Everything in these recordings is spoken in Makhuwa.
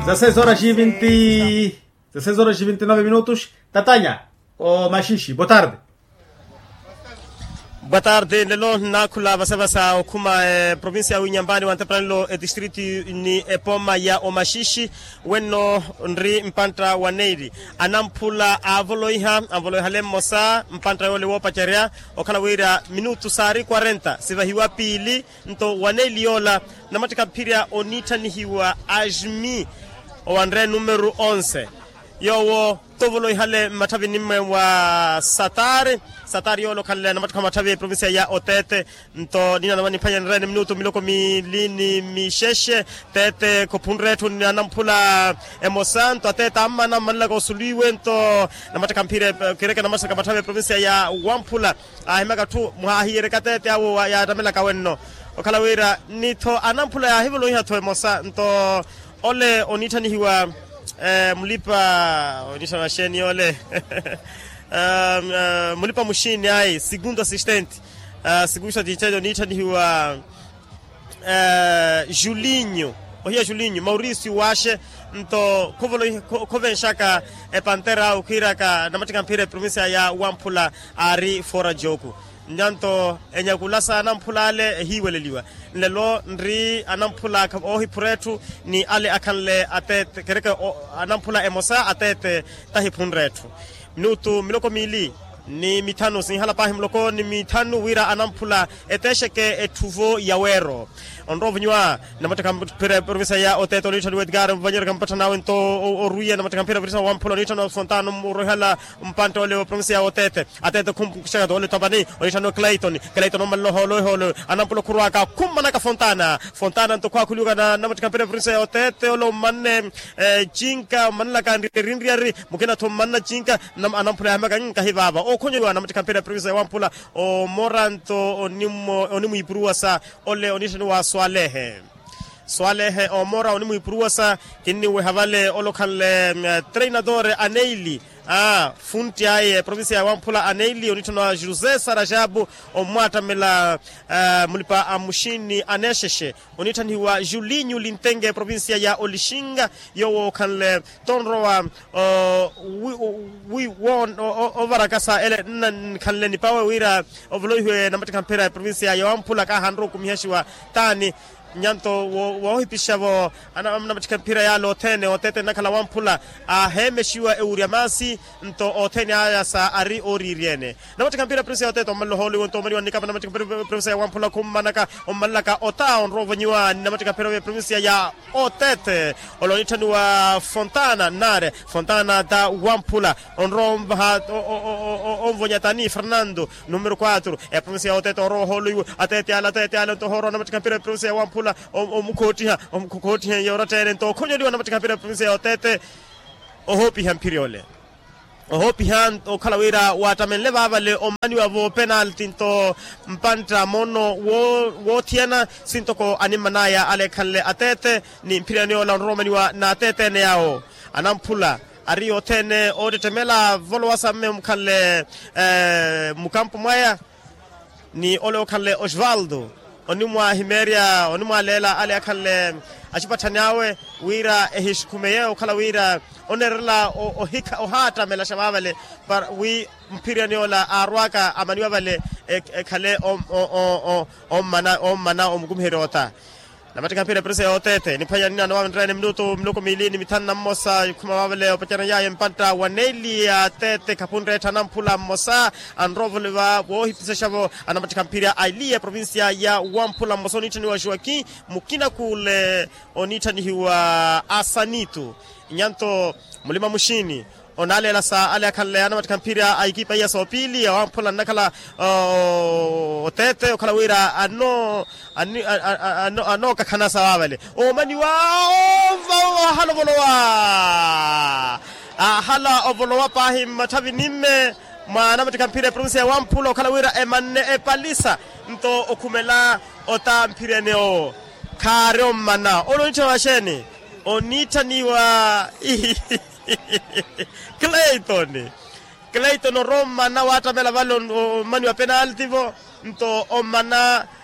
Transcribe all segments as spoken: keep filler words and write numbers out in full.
Za seis horas e vinte, za seis horas e vinte e nove minutos. Tatanya o maxixi boa tarde. Boa tarde nlelo nnaakhula vasavasa okhuma eprovincia ya winyambani wa ntepanelo etistritu ni epoma ya omaxixi. Wenno nri mpantta wa neiri anamphula aavoloiha anvoloihale mmosa mpantta yoole woopacerya okhala wira minutu saari quarenta sivahiwa piili. Nto wa neili yoola namattikha mphirya oniitthanihiwa ajmi owanre numero onze yoowo tovoloihale mmatthavi nimmwe wa satari. Satari yoola okhanle namattikha wa matthavi eprovincia ya otete. Nto nina namani phwanyanrene minutu miloko miili ni mixexe tete khophunre etthu ni anamphula emosa nto atete ammana mmanlaka osuliwe nto namattikha mphirya kireke namattikha matthavi eprovincia ya wamphula. Aahimaka atthu mwaahiyereka tete awo yaattamelaka wenno okhala wira nitho anamphula yaahivoloiha-tho emosa nto ole oniitthanihiwa mulipa oniitthaniwa xeeni yoole mulipa muxiini ayi segundo assistente. Segundo assistente oniitthanihiwa julinho ohiya julinho mauricio waxe nto khovenxaka epantera awe khwiiraka namattikha mphira eprovincia ya wamphula aari fora joku. Nyanto enyakula sa anamphula ale ehiiweleliwa nlelo nri anamphula oohiphura etthu ni ale akhanle atete kereke anamphula emosa atete tahiphunre etthu. Minutu miloko miili ni mithanu sinhala paahi muloko ni mithanu wira anamphula etexeke etthuvo ya weero. Onrowa ovonyiwa namattikha mphira eprovincia ya otete oniitthaniwa edgar mvanyereka mpatthana awe nto orwiya namattikha mphira eprovincia wamphula oniitthaniwa fontana oroihala mpantte ole wa provincia ya otete. Atete khumpukuxaka nto ole topani oniitthaniwa clayton. Clayton ommanle ohoolo ehoolo anampula okhurwaka khummanaka fontana. Fontana nto khwaakhuliwaka na namattikha mphira eprovincia ya otete ole ommanne cinka ommanlaka nriyarinriyari. Mukina-tho mmanna cinka anamphula yaahimaka nkahi vaava okhonyeliwa namattikha mphira eprovincia ya wamphula. Omora nto onimwiipuruwasa ole oniitthaniwa swalehe. Swalehe omora onimwiipuruwasa kinniweha vale ole okhanle treinador aneili. Funtti aye eprovincia ya wamphula aneili oniitthaniwa josé sarajabu ommwaattamela mulipa a muxini anexexe oniitthanihiwa julinho lintenge eprovincia ya olixinga. Yoowo okhanle tonrowa ovarakasa ele nna nkhanle nipawe wira ovoloihiwe namattikha mphira eprovincia ya wamphula kaahanrowa okumihaxiwa taani. Nyanto woohipixavo namattikha mphira yaale othene otete nnakhala wamphula aaheemexiwa ewurya maasi nto othene aya sa ari ooriiryene. Namattikha mphira eprovincia ya otete ommanle ohoolo iwo nto omaniwa nnikapa namattikha mphira eprovincia ya wamphula khummanaka ommanlaka ota onrowa ovonyiwa ni namattikha mphira eprovincia ya otete. Ole oniitthaniwa fontana nnare fontana ta wamphula onrowa onvaha onvonya tani fernando numero quatro eprovincia ya otete onrowa ohoolo iwo atete ale atete ale nto ohoorowa namattikha mphira eprovincia ya wamphula omukhoottiha omukhoottiha yooratteene nto okhonyeliwa namattikha mphira eprovincia ya otete. Ohoopiha mphirya ole ohoopiha okhala wira waattamenle vaavale ommaniwa-vo penalti nto mpantta moono woothiyana sintoko animman'aya ale ekhanle atete ni mphirya niyoola onrowa omaniwa n'atete ene yaawo anamphula ari othene oottettemela volowa samme omukhanle mukampo mwaya ni ole okhanle osvaldo onimwahimeerya onimwaleela ale akhanle acipatthani awe wira ehixukhumeye okhala wira oneerela ohikha ohaattamelaxa vaavale para wi mphirya niyoola aarwaka amaniwa vale ekhale ommana ommana omukumiherya ota. Namattikha mphira eprovincia ya otete niphwanya nina anowa nreene minutu miloko miili ni mithanu na mmosa ikhuma vaavale opacerya yaaye mpantta wa neili ya atete khapunreetthana mphula mmosa anrowa ovoloiwa woohipisexa-vo anamattikha mphira a eliya eprovincia ya wamphula mmosa oniitthaniwa joaquim mukina kule oniitthanihiwa asanitu. Nyanto mulima muxini onaaleela sa ale akhanle anamattikha mphira a ekipa iya soopili awamphula nnakhala otete okhala wira ano anookakhanasa vaavale omaniwa ahala ovolowa ahala ovolowa paahi mmatthavi nimme mwa anamattikha mphira eprovincia ya wamphula okhala wira emanne epalisa nto okhumela ota mphirya ene owo khaari ommana ole oniitthaniwa xeeni oniitthaniwa clayton clayton orowa ommana waattamela vale ommani wa penalti vo nto ommana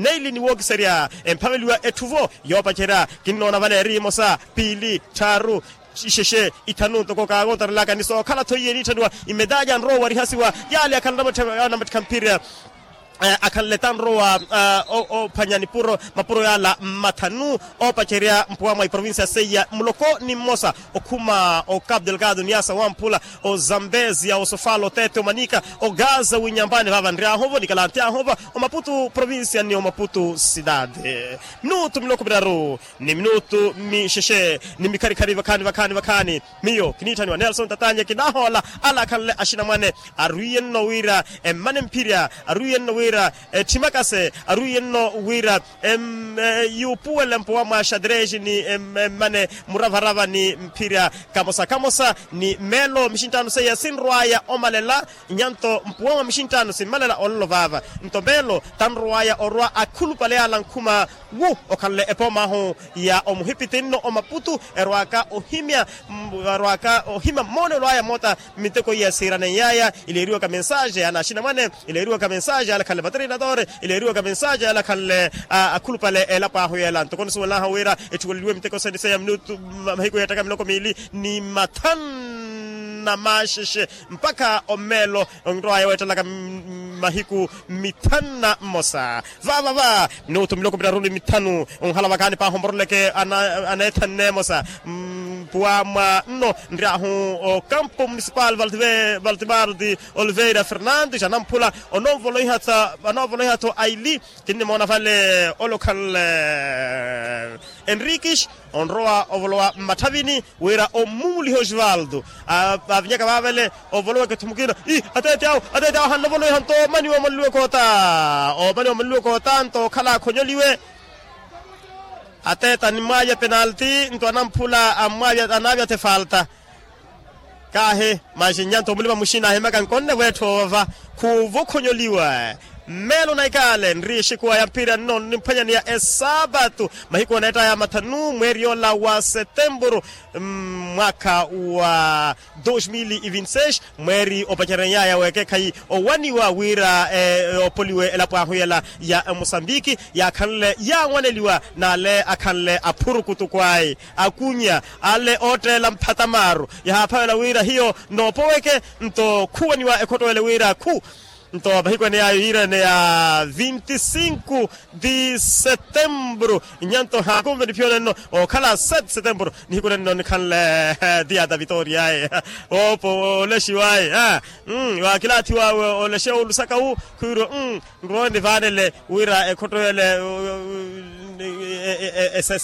Neili ni wookiserya emphaveliwa etthuvo yoopacerya. Kinnoona vale eri emosa, piili, tthaaru, ixexe, ithanu ntoko kaakontarelaka ni sookhala-tho iye niitthaniwa imedalya anrowa warihasiwa. Yaale akhala anamatthi anamatthi khamphirya. Akhanle tanrowa oophwanya nipuro mapuro yaala mathanu oopacerya mpuwa mwa iprovincia seiya muloko ni mmosa okhuma o capu delgado niasa wamphula, o zambezia o sofala o tete o manika o gaza winyambani vaava nryahu-vo nikalantyaahu-vo o maputu provincia ni o maputu sidade. Minutu miloko miraru ni minutu mixexe ni mikharikhari vakhaani vakhaani vakhaani. Miyo kiniitthaniwa nelson tatanye kinahoola ala akhanle axinamwane arwiye-nno wira emmane mphirya arwiye-nno wira ethimakase arwiye-nno wira yuupuwele mpuwa mwa xadreji ni emmane muravarava ni mphirya kamosa kamosa ni meelo mixinttano seiya sinrwaya omalela. Nyanto mpuwa mwa mixinttano simmalela ololo vaava nto meelo tanrowaya orwa akhulupale yaala nkhuma wu okhanle epoomaahu ya omuhipiti nno omaputu erwaka ohimya erwaka ohimya mmoonelo aya moota miteko iya siiraneyaya ileeriwaka mensaje ya anaaxinamwane ileeriwaka mensaje ya alakhanle materinadore ileeriwaka mensaje ya alakhanle akhulupale elapo ahu yeela ntoko nisuwelanahu wira etthuweleliwe miteko seniseya minutu mahiku yeettaka miloko miili ni mathanna maxexe mpakha ommeelo onrowaya weettalaka mahiku mithanna mmosa. Vaavava minutu miloko miraru ni mithanu onhala vakaani paaha omboroleke aneethanne mmosa mpuwa mwa nno nryahu okampo municipal valtimardi oliveira fernandes anamphula onoovoleiha-tho aili kinnimoona vale ole okhanle enriques onrowa ovolowa mmatthavini wira ommumuliha osvaldo avinyaka vaavele ovoloweke ethu mukina ii ateete awo ateete awo hannovolowiha nto omaniwa omaliweke ota omaniwa omaliweke ota nto okhala akhonyoliwe ateete animwaavya penalti nto anamphula anamwaavya-tho efalta kaahi maxinyanto omulima muxina ahimaka nkonnevo etthu ovava khuuvokhonyoliwa mmeelo na ikaale nri exikuwa ya mphira nno nimphwanyaniya esaapatu mahiku oneettaya mathanu mweeri yoola wa setempuru mwaakha wa dos mil e vinte seis mweeri opacerenyaya w'ekeekhayi owaniwa wira oopoliwe elapo ahu yela ya mosambiki yaakhanle yaawaneliwa n'ale akhanle aphurukutuku ayi akunya ale ootteela mphatamaaru yahaaphavela wira hiyo noopoweke nto khuwaniwa ekhotto ele wira khu nto mahiku ene yaayo yiira ene ya vinti sinku di setemburu nyanto haakunve niphiyo nenno ookhala sete setemburu nihiku nenno nikhanle diya da vitoriaye oopo olexiwaye waakilaathiwawe olexewo olusaka wu khwiiro nrowe nivaanele wira ekhotto ele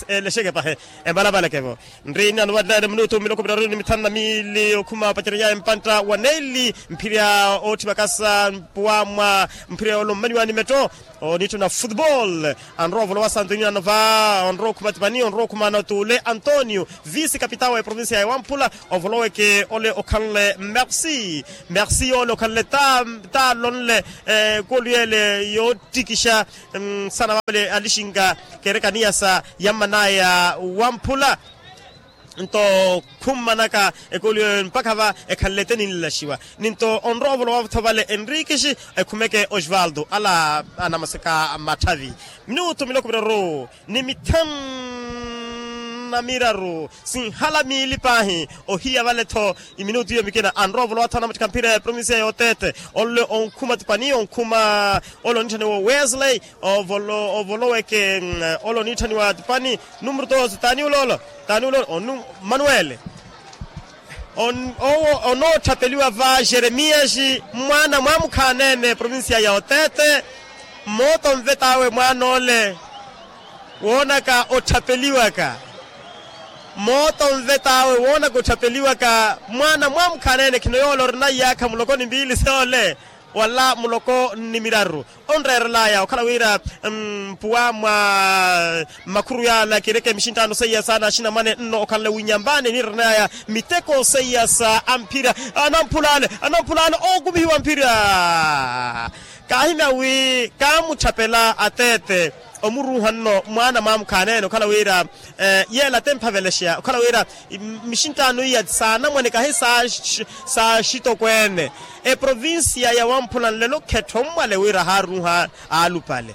elexeke pahe embalapalekevo nri nano vannaene minutu miloko miraru ni mithanu na miili okhuma opacerenyaya empantta wa neili mphirya ootthi vakasa mpuwa mwa mphirya yoolo mmaniwani metto oniitthuna futebol anrowa ovolowa santo inano va onrowa okhuma tipani onrowa okhuma anotuule antonio visi kapitao wa eprovincia ya wamphula ovoloweke ole okhanle merci merci yoole okhanle taalonle ekolu yeele yoottikixa nsana vavale alixinka keereka niyasa yammanaya wamphula nto khummanaka ekolu yoyo mpakha va ekhanle ete ninlaxiwa ninto onrowa ovolowa-tho vale enrikixi ekhumeke osvaldo ala anamaseka matthavi minutu miloko miraru ni mithanu na miraru sinhala miili paahi ohiya vale-tho iminutu iyo mikina anrowa ovolowa-tho anamattikha mphira ya provincia yootete onle onkhuma tipani onkhuma ole onitthaniwa wesley ovoloweke ole onitthaniwa tipani numero dos tani uloolo tani uloolo onu manuele owo onoottapeliwa va jeremiasi mwaana mwa mukhaanene provincia ya otete mooto onvet'awe mwaana ole woonaka otthapeliwaka mooto onvet'awe woonaka otthapeliwaka mwaana mwa mukhaanene khino yoole orina iyaakha muloko ni mpiili soole wala muloko ni miraru onreerelaya okhala wira mpuwa mwa makhuru yaala kiireke mixinttaano seiya saana axinamwane nno okhanle winyambani niireneyaya miteko seiya sa amphira anamphulaale anamphulaale ookumihiwa mphira kaahimya wi kaamutthapela ateete omuruuha nno mwaana mwa mukhaanene okhala wira yeela te mphavelexeya okhala wira mixinttaano iya saanamwane kahi saaxitokweene eprovincia ya wamphula nlelo khettho mmwale wira haaruuha aalupale